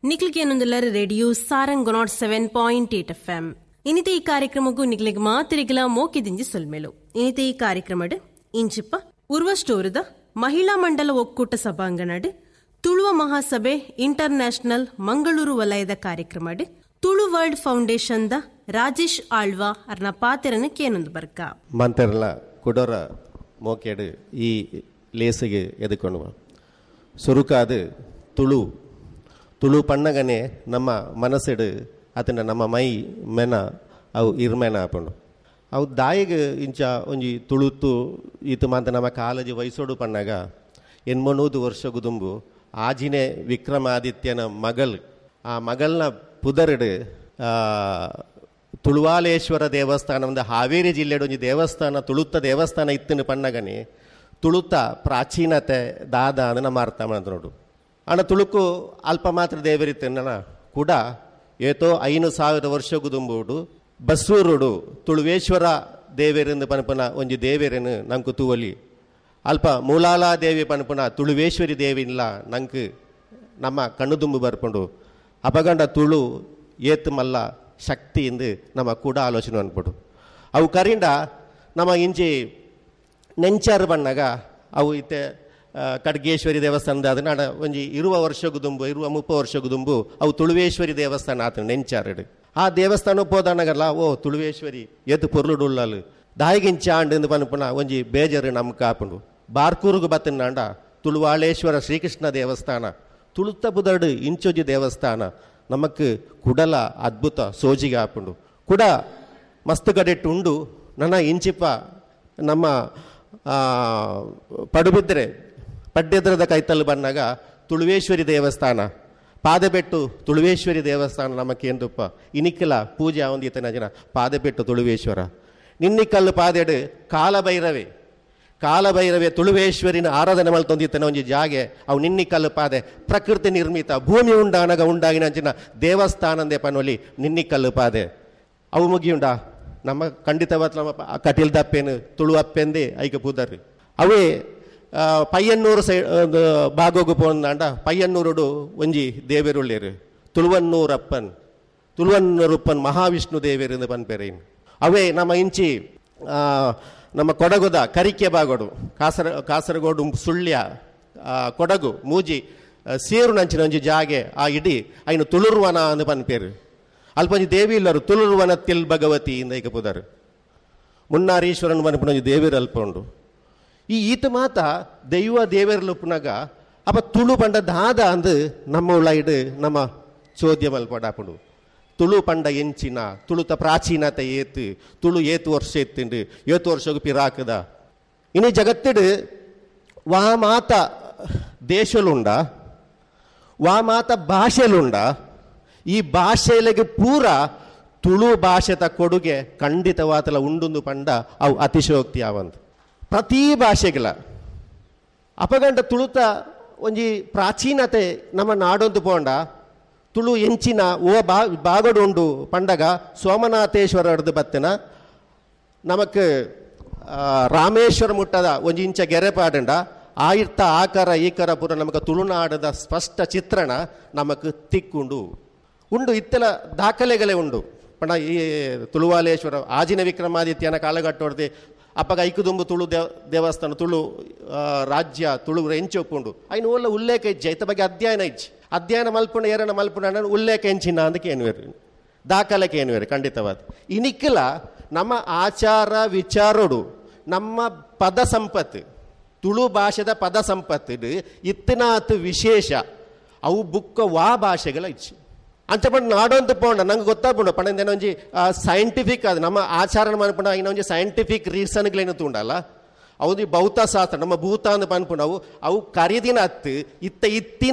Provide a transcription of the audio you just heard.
ನಿಕ್ಲಿಗೇನೊಂದುಲ್ಲರ radio Sarang 107.8 FM. ಇನಿತೆ ಈ ಕಾರ್ಯಕ್ರಮಕ್ಕೂ ನಿಕ್ಲಿಗೆ ಮಾತಿರಿಗಲ ಮೋಕಿದಿಂಜಿ ಸೊಲ್ಮೆಲು. ಇನಿತೆ ಈ ಕಾರ್ಯಕ್ರಮಡ್ ಇಂಚಿಪ್ಪ ಉರ್ವಸ್ಟೋರದ ಮಹಿಳಾ ಮಂಡಲ ಒಕ್ಕೂಟ ಸಭಾಂಗಣಡ್ ತುಳುವ ಮಹಾಸಭೆ ಇಂಟರ್ ನ್ಯಾಷನಲ್ ಮಂಗಳೂರು ವಲಯದ ಕಾರ್ಯಕ್ರಮಡ್ Tulu world foundation the Rajesh Alva ಅರ್ನ ಪಾತೆರನ ಕೇನೊಂದು ಬರ್ಕ. ಮಂತೆರ್ಲ ಕುಡೋರ ಮೋಕೆಡು ಈ ಲೇಸಿಗೆ ಎದುಕೊಳುವ ಸುರುಕಾದು ತುಳು ತುಳು ಪಣ್ಣಗನೆ ನಮ್ಮ ಮನಸ್ಸಿಡು ಅದನ್ನ ನಮ್ಮ ಮೈ ಮೆನ ಅವು ಇರ್ಮೆನ ಆಪುಂಡು. ಅವು ದಾಯಿಗೆ ಇಂಚ ಒಂಜಿ ತುಳುತು ಈತು ಮಾತ ನಮ್ಮ ಕಾಲೇಜು ವಯಸ್ಸೋಡು ಪಣ್ಣಾಗ 800 ವರ್ಷ ಗುದುಂಬು ಆಜಿನೇ ವಿಕ್ರಮಾದಿತ್ಯನ ಮಗಲ್, ಆ ಮಗಲ್ನ ಪುದರ್ಡು ತುಳುವಾಲೇಶ್ವರ ದೇವಸ್ಥಾನ ಒಂದು ಹಾವೇರಿ ಜಿಲ್ಲೆಡು ಒಂಜಿ ದೇವಸ್ಥಾನ ತುಳುತ್ತ ದೇವಸ್ಥಾನ ಇತ್ತಿನ ಪಣ್ಣಗನೆ ತುಳುತ ಪ್ರಾಚೀನತೆ ದಾದ ಅಂದ್ ನಮ್ಮ ಅರ್ಥ ಮಾಡ್ತ ನೋಡು. ಅಣ್ಣ ತುಳುಕು ಅಲ್ಪ ಮಾತ್ರ ದೇವರಿತ್ತನ್ನ ಕೂಡ ಏತೋ 5000 ವರ್ಷ ಗುದುಂಬುಡು ಬಸ್ಸೂರುಡು ತುಳುವೇಶ್ವರ ದೇವೇರೆಂದು ಪನಪನ ಒಂಜಿ ದೇವೇರನು ನಂಕು ತೂವಲಿ ಅಲ್ಪ ಮೂಲಾಲಾ ದೇವಿ ಪನಪನ ತುಳುವೇಶ್ವರಿ ದೇವಿಲ್ಲ ನಂಗೆ ನಮ್ಮ ಕಣ್ಣು ಬರ್ಪುಂಡು. ಅಪಗಂಡ ತುಳು ಏತು ಮಲ್ಲ ಶಕ್ತಿ ಎಂದು ನಮ್ಮ ಕೂಡ ಆಲೋಚನೆ ಅನ್ಬಿಡು. ಅವು ಕರಿಂಡ ನಮ್ಮ ಇಂಚಿ ನೆಂಚಾರು ಬಣ್ಣಾಗ ಅವು ಇತ್ತೆ ಖಡ್ಗೇಶ್ವರಿ ದೇವಸ್ಥಾನದ ಅದನ್ನ ಒಂಜಿ 20 ವರ್ಷಗುದುಂಬು 20-30 ವರ್ಷಗುದುಂಬು ಅವು ತುಳುವೇಶ್ವರಿ ದೇವಸ್ಥಾನ ಆತ ನೆಂಚಾರಡು. ಆ ದೇವಸ್ಥಾನ ಪೋದಾನಗಲ್ಲ ಓ ತುಳುವೇಶ್ವರಿ ಏತು ಪೊರ್ಲುಡುಳ್ಳಲು ದಾಯಿಗಿಂಚ ಆಂಡು ಪನ್ಪುನ ಒಂಜಿ ಬೇಜಾರು ನಮ್ಗೆ ಕಾಪುಂಡು. ಬಾರ್ಕೂರುಗು ಬತ್ತಿನಾಂಡ ತುಳುವಾಳೇಶ್ವರ ಶ್ರೀಕೃಷ್ಣ ದೇವಸ್ಥಾನ ತುಳುತ್ತ ಬುದರ್ಡು ಇಂಚೊಜಿ ದೇವಸ್ಥಾನ ನಮಕ್ ಕುಡಲ ಅದ್ಭುತ ಸೋಜಿಗೆ ಆಪುಂಡು. ಕುಡ ಮಸ್ತ್ ಗಡೆಟ್ಟು ಉಂಡು. ನನ್ನ ಇಂಚಿಪ ನಮ್ಮ ಪಡುಬಿದ್ರೆ ಪಡ್ಡೆದ್ರದ ಕೈತಲ್ಲು ಬಂದಾಗ ತುಳುವೇಶ್ವರಿ ದೇವಸ್ಥಾನ ಪಾದೆಬೆಟ್ಟು ತುಳುವೇಶ್ವರಿ ದೇವಸ್ಥಾನ ನಮಕೇಂದುಪ್ಪ ಇನಿಕ್ಕಿಲ ಪೂಜೆ ಒಂದು ಈತನ ಜನ ಪಾದೆಬೆಟ್ಟು ತುಳುವೇಶ್ವರ ನಿನ್ನಿಕಲ್ಲು ಪಾದೆಡು ಕಾಲಭೈರವೇ ಕಾಲಭೈರವೇ ತುಳುವೇಶ್ವರಿನ ಆರಾಧನೆ ಮಲ್ತೊಂದಿತ್ತನ ಒಂಜಿ ಜಾಗೆ ಅವು ನಿನ್ನಿಕಲ್ಲು ಪಾದೆ ಪ್ರಕೃತಿ ನಿರ್ಮಿತ ಭೂಮಿ ಉಂಡಾನಗ ಉಂಡಾಗಿನ ಅಂಚಿನ ದೇವಸ್ಥಾನಂದೇ ಪನೊಲಿ ನಿನ್ನಿಕಲ್ಲು ಪಾದೆ ಅವು ಮುಗಿಯುಂಡ ನಮ್ಮ ಖಂಡಿತವಾದ ನಮ್ಮ ಕಟೀಲ್ ದಪ್ಪೇನು ತುಳು ಅಪ್ಪೆಂದೇ ಐಕ ಪೂದರ್ ಅವೇ ಪಯ್ಯನ್ನೂರು ಸೈ ಭಾಗೋಗು ಪೋಂದಾಂಡ ಪಯ್ಯನ್ನೂರುಡು ಒಂಜಿ ದೇವೆರುಳ್ಳೇರು ತುಳುವನ್ನೂರಪ್ಪನ್ ತುಳುವನ್ನೂರಪ್ಪನ್ ಮಹಾವಿಷ್ಣು ದೇವೇರು ಪನ್ಪೆರೇನು. ಅವೇ ನಮ್ಮ ಇಂಚಿ ನಮ್ಮ ಕೊಡಗುದ ಕರಿಕೆ ಬಾಗೋಡು ಕಾಸರಗೋಡು ಸುಳ್ಯ ಕೊಡಗು ಮೂಜಿ ಸೇರು ನಂಚಿನ ಒಂಜಿ ಜಾಗೆ ಆ ಇಡೀ ಐನು ತುಳುರ್ವನ ಅಂದು ಪನ್ಪೇರು. ಅಲ್ಪ ಒಂಜಿ ದೇವಿ ಇಲ್ಲರು ತುಳುರ್ವನ ತಿಲ್ ಭಗವತಿ ಇಂದ ಈಗ ಪುದರು ಮುನ್ನಾರೀಶ್ವರನ್ ಪನ್ಪುನ ಒಂಜಿ ದೇವಿರು ಅಲ್ಪ ಉಂಡು. ಈ ಈತ ಮಾತ ದೈವ ದೇವರಲುಪ್ಪುನಾಗ ಅಪ್ಪ ತುಳು ಪಂಡ ದಾದ ಅಂದು ನಮ್ಮ ಉಳ್ಳಾಯಿಡು ನಮ್ಮ ಚೋದ್ಯ ಮಲ್ಪಡಾಪುಂಡು. ತುಳು ಪಂಡ ಎಂಚಿನ ತುಳುತ ಪ್ರಾಚೀನತೆ ಏತು ತುಳು ಏತು ವರ್ಷ ಎತ್ತುಂಡು ಏತು ವರ್ಷಗೂ ಪಿರಾಕದ ಇನಿ ಜಗತ್ತಿಡು ವಾ ಮಾತ ದೇಶಲುಂಡ ವಾ ಮಾತ ಭಾಷೆಲುಂಡ ಈ ಭಾಷೆಲೆಗೆ ಪೂರ ತುಳು ಭಾಷೆತ ಕೊಡುಗೆ ಖಂಡಿತವಾತಲ ಉಂಡುಂದು ಪಂಡ ಅವು ಅತಿಶಯೋಕ್ತಿ ಆವಂದು ಪ್ರತಿ ಭಾಷೆಗಳ ಅಪಗಂಡ ತುಳುತ ಒಂಜಿ ಪ್ರಾಚೀನತೆ ನಮ್ಮ ನಾಡೊಂದು ಪೋಂಡ ತುಳು ಎಂಚಿನ ಓ ಬಾಗೋಡು ಉಂಡು ಪಂಡಗ ಸೋಮನಾಥೇಶ್ವರ ಹಿಡ್ದು ಬತ್ತಿನ ನಮಕ್ ರಾಮೇಶ್ವರ ಮುಟ್ಟದ ಒಂಜಿ ಇಂಚ ಗೆರೆ ಪಾಡಂಡ ಆಯಿರ್ತ ಆಕಾರ ಈಕಾರ ಪೂರ ನಮಕ ತುಳುನಾಡದ ಸ್ಪಷ್ಟ ಚಿತ್ರಣ ನಮಕ್ ತಿಕ್ಕುಂಡು ಉಂಡು ಇತ್ತೆಲ ದಾಖಲೆಗಳೇ ಉಂಡು. ಪಂಡ ಈ ತುಳುವಾಲೇಶ್ವರ ಆಜಿನ ವಿಕ್ರಮಾದಿತ್ಯನ ಕಾಲಘಟ್ಟೊಡ್ದು ಅಪ್ಪಗ ಐಕುದುಂಬು ತುಳು ದೇವಸ್ಥಾನ ತುಳು ರಾಜ್ಯ ತುಳು ಎಂಚೊಪ್ಪುಂಡು ಐನು ಓಲ್ಲ ಉಲ್ಲೇಖ ಇಜ್ಜೆ ಇತ್ತ ಬಗ್ಗೆ ಅಧ್ಯಯನ ಇಜ್ಜಿ ಅಧ್ಯಯನ ಮಲ್ಪುಂಡ ಏರನ ಮಲ್ಪುಂಡ ಉಲ್ಲೇಖ ಎಂಚಿನ ಅಂದಕ್ಕೆ ಏನುವೇರು ದಾಖಲೆಗೆ ಏನುವೇರು ಖಂಡಿತವಾದ. ಇನಿಕ್ಕಿಲ ನಮ್ಮ ಆಚಾರ ವಿಚಾರೋಡು ನಮ್ಮ ಪದ ಸಂಪತ್ತು ತುಳು ಭಾಷೆದ ಪದ ಸಂಪತ್ತು ಇತ್ತಿನಾತು ವಿಶೇಷ ಅವು ಬುಕ್ಕ ವಾ ಭಾಷೆಗಳ ಇಚ್ಚಿ ಅಂಚ ಪಂಡ ನಾಡೊಂದು ಪೋಂಡ ನಂಗೆ ಗೊತ್ತಾಪುಂಡು ಪಂಡ ಒಂಜಿ ಸೈಂಟಿಫಿಕ್ ಅದು ನಮ್ಮ ಆಚಾರ ಮನ್ಪುಂಡ ಇನ್ನ ಒಂಜಿ ಸೈಂಟಿಫಿಕ್ ರೀಸನ್ಗಳೇನು ತೂಂಡಲ್ಲ ಅವು ಭೌತಶಾಸ್ತ್ರ ನಮ್ಮ ಭೂತ ಅಂದ್ ಪನ್ಪುಂಡು ಅವು ಅವು ಕರಿದಿನ ಅತ್ತು ಇತ್ತ ಇತ್ತಿನ